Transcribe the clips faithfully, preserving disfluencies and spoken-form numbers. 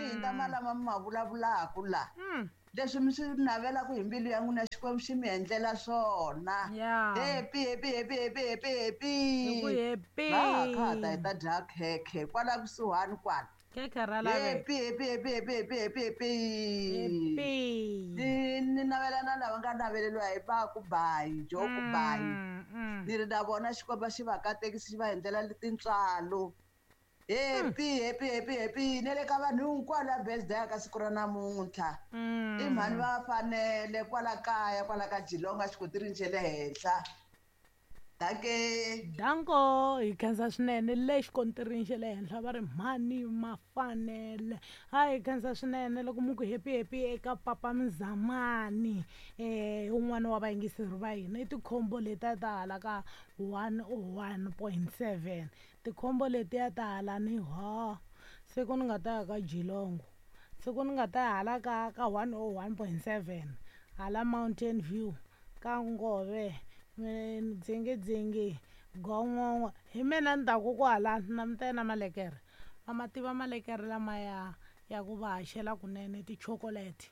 hundza malama mi ma vulavulaka la. Mm. Leswi mi swi navelaka hi mbilu ya n'wina Xikwembu xi mi endlela swona. Yeah. Happy happy happy happy happy happy. Hi ku happy. Va kha ta hi ta dya khekhe kwala kusuhani kwala. Khekhe ra laveka. Happy happy happy happy happy happy happy. Happy. Ni ni navela na lava nga naveleriwa hi ba ku bayi, jo ku bayi. Mm, mm. Ni ri na vona Xikwembu xi va katekisi xi va endlela tintswalo. Happy happy happy happy ne le ka vanhu hinkwavo la birthday ka siku ra namuntlha. Mm. I mhani va fanele kwala kaya kwala ka Jilonga xikotirini xa le henhla. Danke. Danko hi khensa swinene le xikontirini xa le henhla va ri mhani mafanele. Ha hi khensa swinene loko mu ku happy happy eka Papa Mzamani eh un'wana wa vayingiseri va hina i tikhombo letiya ta hala ka one oh one point seven. Tikhombo letiya ta hala ni ho siku ni nga ta ya ka Jilongo, siku ni nga ta ya hala ka ka one oh one point seven hala Mountain View ka Ngove dzingidzingi gongongo hi mina ni taku kwala na mi ta na malekere va ma tiva malekere lamaya ya ku va haxela kunene tichokoleti.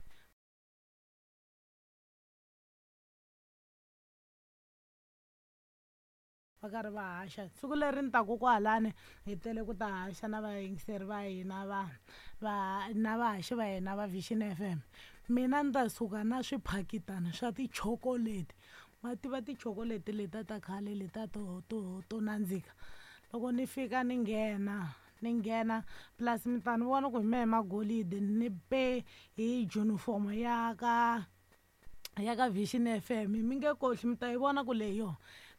Va karhi va haxa siku leri ni taku kwalani hi tele ku ta haxa na vayingiseri va hina va va na vahaxi va hina va Vision F M. Mina ni ta suka na swiphakitana swa tichokoleti. Ma tiva tichokoleti letiya ta khale letiya to to to nandzika. Loko ni fika ni nghena ni nghena plus mi ta ni vona ku hi mehe magolide ni pe hi junifomo ya ka ya ka Vision F M mi nge kohli mi ta yi vona ku leyi yo.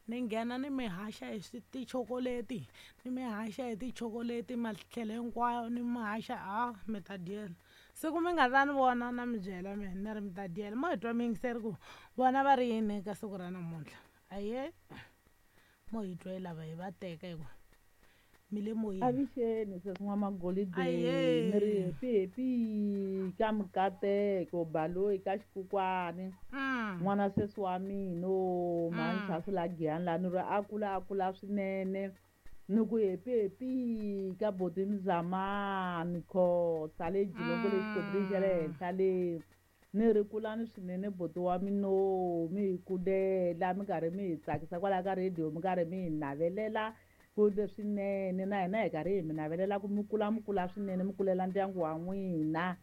Ni nghena ni mi haxa hi tichokoleti ni mi haxa hi tichokoleti matlhelo hinkwayo ni mi haxa a mi ta dyela. Siku mi nga ta ni vona na mi byela mina ni ri mi ta dyela. Mo hi twa miyingiseri ku vona va ri yini ka siku ra namuntlha. Ahee mo hi twa hi lava hi va teka hi ku mi le moyeni. Avuxeni sesi N'wamagolide Ahee. ni ri happy happy ka Mikateko Baloyi ka Xikukwani. Mm. N'wana sesi wa mina o mhani Mm. Chasi la Giyani la ni ri a kula a kula swinene. Ni ku happy happy ka Boti Mzamani Khosa le Jilongo le xikontirini xa le henhla le. Ni ri kulani swinene boti wa mina o mi hi kulela mi karhi mi hi tsakisa kwala ka radio mi karhi mi hi navelela ku leswinene na hina hi karhi hi mi navelela ku mi kula mi kula swinene mi kulela ndyangu wa n'wina.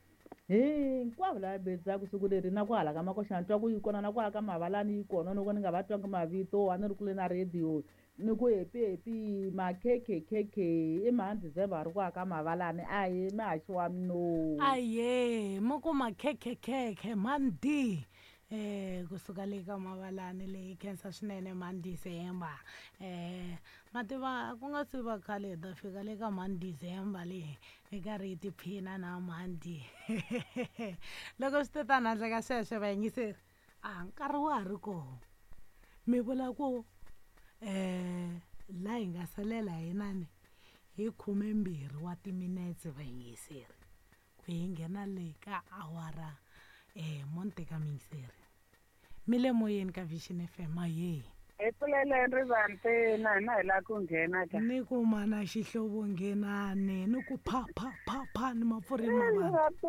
Hinkwavo lava bedzaka siku leri na ku hala ka Makoxana ni twa ku yi kona na ku hala ka Mavalani yi kona loko ni nga va twangi mavito a ni ri kule na radio ni ku happy happy makhekhekhekhe i mhani December ri ku aka Mavalani ahee mihaxi wa mina. Ahee mi ku makhekhekhekhe mhani D eh kusuka le ka Mavalani leyi khensa swinene mhani December. Eh mativa ku nga se va khale hi ta fika le ka mhani December leyi hi karhi hi tiphina na mhani D. Loko swi te tani handle ka sweswo vayingiseri a nkarhi wa ha ri kona mi vula ku eh la hi nga salela hi nani hi khumembirhi wa timinetse vayingiseri ku hi nghena le ka awara eh mo ni teka miyingiseri mi le moyeni ka Vision F M. Ahee. Hi pfuleleni rivanti na hina hi lava ku nghena ka. Ni ku mana xihlovo nghenani ni ku pha pha pha pha ni mapfureni ma vanhu. Rivanti,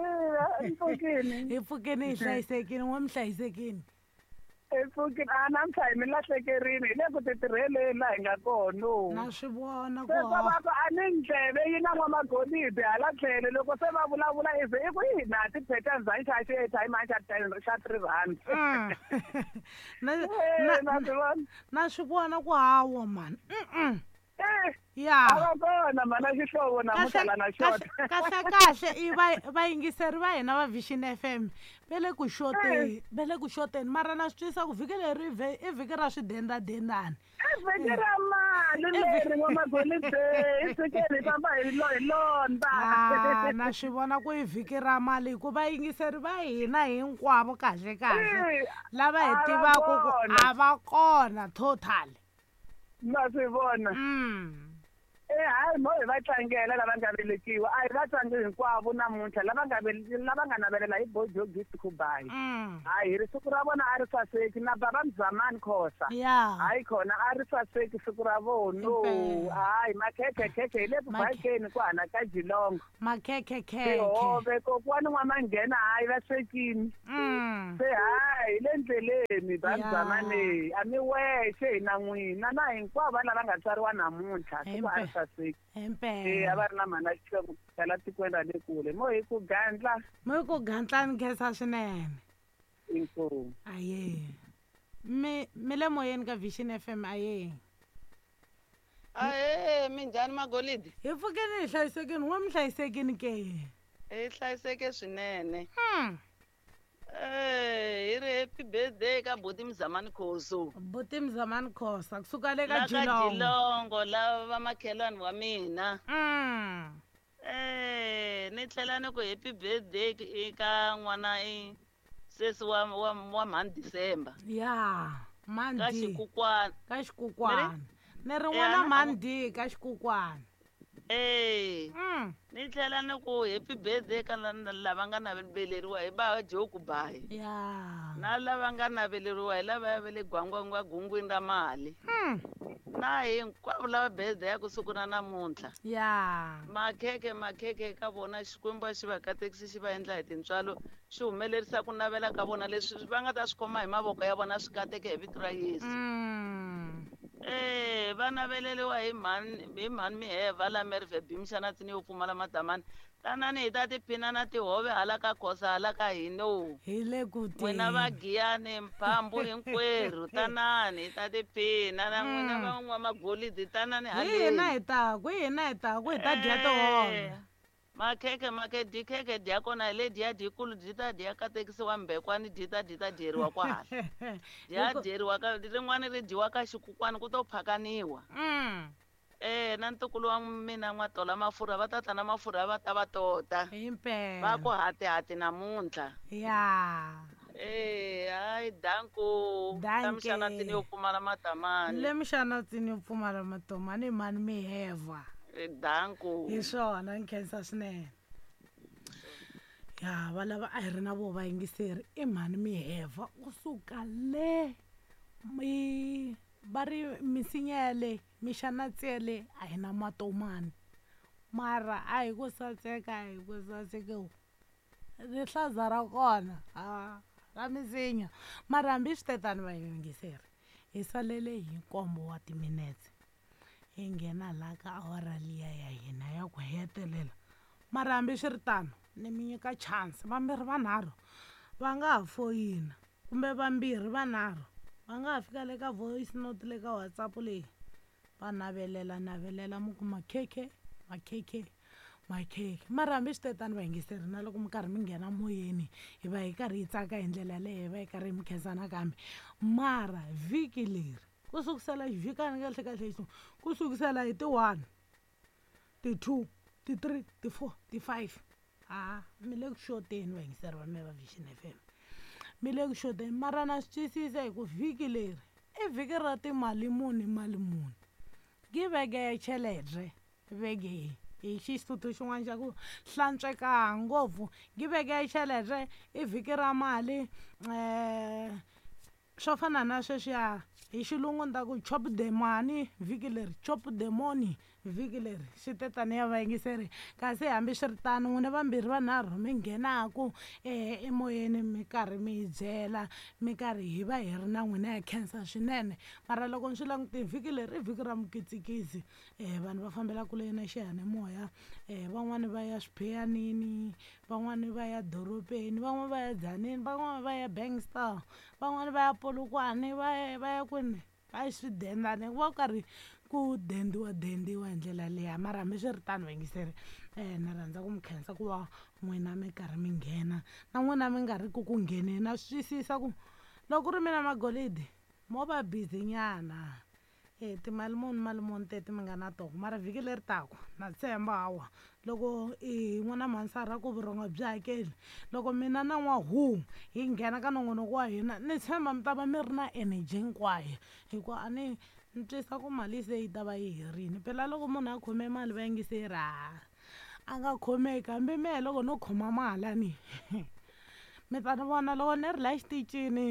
hi pfukini. Hi pfukini hi hlayisekile n'we mi hlayisekile. Hi pfukini a namuntlha hi mi lahlekerini hi le ku titirheleni laha hi nga kona. Na swi vona ku Se swa va ku a ni ndleve yi na N'wamagolide hala tlhelo loko se va vulavula i ze i ku yi na ti-patterns a ni xava xi-airtime a ni xa ten xa three rand. Mm. Na, Eh, na, na swi vona. na swi vona ku hawa mani. Mm-mm. Eh, Ya. a va kona mhana xihlovo namuntlha Kahle la na xota. kahle kahle i va vayingiseri va hina va Vision F M va le ku xoteni va le ku xoteni mara na swi twisisa ku vhiki leri i vhiki ra swidendadendani. I vhiki ra mali leri N'wamagolide hi tshikeni hi famba hi lo hi londza. Ah, na swi vona ku i vhiki ra mali hikuva vayingiseri va hina hinkwavo kahle kahle Eh, lava hi a va tivaka ku kona. a va kona total. Na swi vona. Mm. Eh hayi mo hi va tlangela lava nga velekiwa a hi va tlangi hinkwavo namuntlha lava nga lava nga navelela hi Bojo Gift Kubai. Hayi hi ri siku ra vona a ri saseki na baba Mzamani Khosa. Hayi khona a ri saseki siku ra vona. Hayi makhekhe khekhe hi le ku bakeni kwala ka Jilongo. Makhekhe khekhe. Tihove kokwani n'wamanghena hayi va swekini. Se hayi le ndleleni ba Mzamani a mi wexe hi na n'wina na hinkwavo lava nga tswariwa namuntlha siku a ri saseki. Himpela. Eh a va ri na mhana Xikwembu la tikweni ra le kule. Mo hi ku gandla. Mo hi ku gandla ni khensa swinene. Inkomu. Aye. Mi mi le moyeni ka Vision F M aye. Aye minjhani Magolidi? Hi pfukeni hi hlayisekini, n'we mi hlayisekini ke? Hi hlayiseke swinene. Hmm. Eh, hi ri happy birthday ka Buti Mzamani Khoso. Buti Mzamani Khosa kusuka le ka La ka Jilongo. Jilongo lava va makhelwani wa mina. Mm. Eh, ni tlhela ni ku happy birthday eka n'wana i sesi wa wa wa mhani December. Ya, mhani Ka D. xikukwana. Ka xikukwana. Ni ri n'wana mhani D ka xikukwana. Eh. Mm. Ni tlhela ni ku happy birthday ka lava nga naveleriwa hi ba Joe Kubai. Ya. Na lava nga naveleriwa hi lava va le gwangwangwa gungwini ra mali. Mm. Na hinkwavo lava birthday ya ku siku ra namuntlha. Ya. Makhekhe makhekhe ka vona Xikwembu xi va katekisi xi va endla hi tintswalo xi humelerisa ku navela ka vona leswi va nga ta swi khoma hi mavoko ya vona swi kateke hi vito ra Yesu. Mm. Eh va naveleriwa hi mhani hi mhani Miheva la Merve Bimshana tsini yo pfumala madamani. Tanani hi ta tiphina na tihove hala ka Khosa hala ka hino. Hi le ku teni. N'wina va Giyani Mphambu hinkwerhu tanani hi ta tiphina na n'wina va n'wamagolidi tanani Hi hina hi taku, hi hina hi taku hi ta dya tihove. Makhekhe makhe dikhekhe dya kona hi le dya dyikulu dyi ta dya katekisiwa mbekwani dyi ta dyi ta dyeriwa kwahala. Dya dyeriwa ka rin'wana ri dyiwa ka xikukwani ku to phakaniwa. Mm. Eh na ntukulu wa mina n'watola mafurha va ta ta na mafurha va ta va tota. Himpela. Va ku hati hati namuntlha. Ya. Eh hayi danko. Danke. Mxana tsini yo pfumala matamani. Le mxana tsini yo pfumala matomani mhani Miheva. Danko. Hi swona ni khensa swinene. Ya va lava a hi ri na vo vayingiseri i mhani Miheva kusuka le mi va ri misinya yale mixanatsele a hi na matomani mara a hi ku saseka a hi ku saseka rihlaza ra kona a ra misinya mara hambi swi tetani vayingiseri hi salele hi nkombo wa timinetse hi nghena laha ka awara liya ya hina ya ku hetelela mara hambi swi ri tano ni mi nyika chance vambirhi vanharhu va nga ha foyina kumbe vambirhi vanharhu va nga ha fika le ka voice note le ka WhatsApp leyi va navelela navelela mi ku makhekhe makhekhe makhekhe mara hambi swi tetani vayingiseri na loko mi karhi mi nghena moyeni hi va hi karhi hi tsaka hi ndlela leyo hi va hi karhi hi mi khensa nakambe mara vhiki leri ku sukusela xivhikani kahle kahle xi ku sukusela hi ti-one ti-two ti-three ti-four ti-five a mi le ku xoteni vayingiseri va me va Vision F M mi le ku xoteni mara na swi twisisa hi ku vhiki leri i vhiki ra timali muni mali muni ki veke ya chelete veke hi xisuthu xin'wana xa ku hlantsweka ngopfu ki veke ya chelete i vhiki ra mali um swo fana na sweswiya hi xilungu ni ta ku chop the money vhiki leri chop the money vhiki leri swi tetani ya vayingiseri kasi hambi swi ri tano n'wina vambirhi vanharhu mi nghenaku um emoyeni mi karhi mi hi byela mi karhi hi va hi ri na n'wina ya khensa swinene mara loko ni swi langutile vhiki leri i vhiki ra mukitsikisi um vanhu va fambela kule na xiyanimoya um van'wani va ya swipheyanini van'wani va ya dorobeni van'wani va ya Dzaneni van'wani va ya Bankstar van'wani va ya Polokwane va ya va ya kwini va swidendane ku va ku karhi ku dendiwa dendiwa hi ndlela liya mara hambi swi ri tano vayingiseri um ni rhandza ku mi khensa ku va n'wina mi karhi mi nghena na n'wina mi nga ri ku ku ngheneni na swi twisisa ku loko ku ri mina Magolidi mo va busy nyana e timali muni mali muni teti mi nga na tona mara vhiki leri taku na tshemba hawa loko i n'wana mhansara ku vurhonga byi hakeli loko mina na n'wahu hi nghena ka nongonoko wa hina ni tshemba mi ta va mi ri na energy hinkwayo hikuva a ni Ni twisa ku mali se yi ta va yi herini phela loko munhu a khome mali va yingiseri ha a nga khomeki hambi mehe loko no khoma mali ni mi ta ni vona loko ni ri la xitichini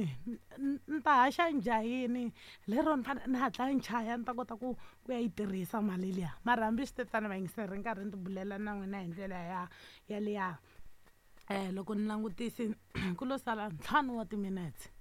ni ta haxa njhayini lero ni fanele ni hatla ni chaya ni ta kota ku ku ya yi tirhisa mali liya mara hambi swi tetano vayingiseri nkarhi ni tibulela na n'wina hi ndlela ya yaliya um loko ni langutisi ku lo sala ntlhanu wa timinetse.